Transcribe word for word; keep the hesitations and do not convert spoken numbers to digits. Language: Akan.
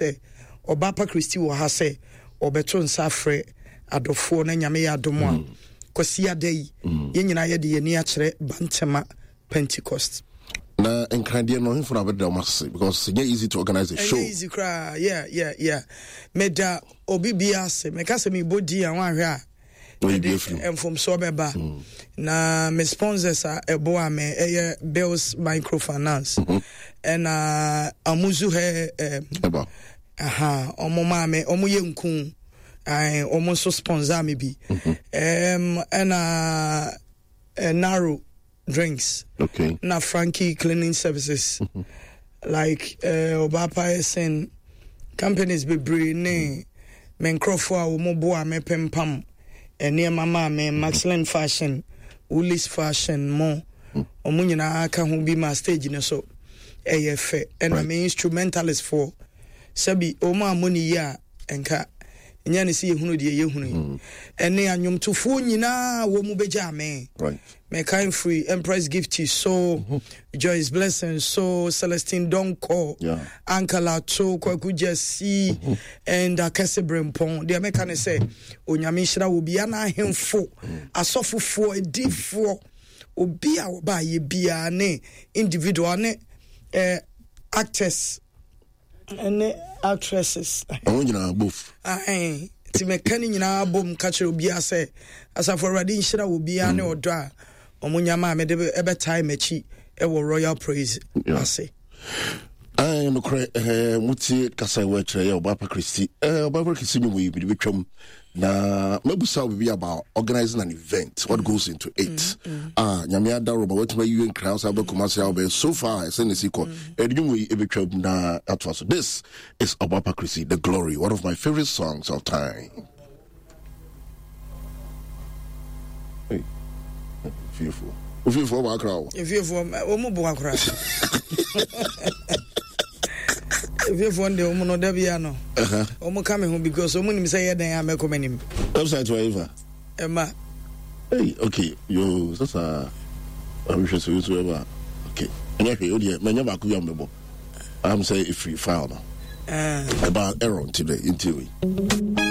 Sɛ Ɔbaapa Christy wɔ ha sɛ ɔbɛto nsa afrɛ adɔfoɔ na Nyame yɛ adom a, mm. Kwasiada yi, mm. yɛn nyinaa yɛde yɛn ani akyerɛ Bantama Pentecost. Na nkradeɛ no hemfo na bɛda wɔn ase, because ɛnyɛ easy to organize a show. Ɛnyɛ easy koraa. yeah yeah yeah meda obi bi ase. Meka sɛ mebɔ din a, wanhwɛ a ɛde mfomsoɔ bɛba mm. Na me sponsors a ɛboa me ɛyɛ Bills Microfinance mhm. ɛna Amuzu hɛ ɛm aha, ɔmo maa me, ɔmo yɛ nku, ɔmo nso sponsor me bi mhm. ɛm ɛna Naro Drinks, okay. na Frankie Cleaning Services mm -hmm. Like Ɔbaapa uh, ɛsɛn companies bebree ne me nkurɔfoɔ a wɔn boa me pempam nneɛma maa me, Maxlin Fashion, Woolies Fashion mo, wɔn nyinaa ka ho bi ma stage no so ɛyɛ fɛ. Ɛna me instrumentalist foɔ, sɛbi wɔn a mo ne yi a nka nyɛ ne sɛ yɛhunu deɛ yɛhunu yi mm. Ɛne anwomtofoɔ nyinaa wɔ mu bɛgya me. Mɛkan firi Empress Gifty so mm -hmm. Joyce Blessing so, Celestine Donko, yeah. Uncle Ato, Kwaku Jesse mm -hmm. and Akɛse Brempɔn. Deɛ mɛka ne sɛ Onyame nhyira wɔ bia na ahemfo mm. asɔfofoɔ, adifoɔ, obi a wɔbaayɛ biara ne individual ne eh, actors ne actresses. Ɔmo nyinaa both. Nti mɛka ne nyinaa bom ka kyerɛ obiara sɛ asafo Awurade nhyira wɔ biara ne mm. ɔdɔ a ɔmo nyama a mede ɛbɛtae m'akyi ɛwɔ Royal Praise ase. Nokorɛ, motie kasa ɛwɔ akyerɛ yɛ Ɔbaapa Kristi. Ɔbaapa Kristi nwom yi mede bɛtwam na mabusa wo biribi about organizing an event, what goes into it mm, mm. Ah, Nyame adaro ma watumi ayiwe nkra wo sɛ wobɛkɔma sɛ wobɛyɛ so far ɛsɛ ne si kɔ ɛde nwom yi ɛbɛtwam na atoa so. This is Ɔbaapa Kristi, The Glory, one of my favorite songs of time. Hey, fiefoɔ, ofiefoɔ wɔ akra o. Efiefoɔ wɔn mu bu akora. Efiefoɔ deɛ, wɔn no dabi ano wɔn ka mi ho because wɔn nim sɛ yɛ dan a mɛkɔ m'anim. Website wɔ efa. Ɛma. Hey, okay, yo, sasa ahwehwɛ sɛ yosu ɛba. Okay, ɛnyɛ hwee o deɛ, mɛnyɛ baako bi a mɛbɔ am sɛ efiri file no ɛba error nti dɛ nti wei.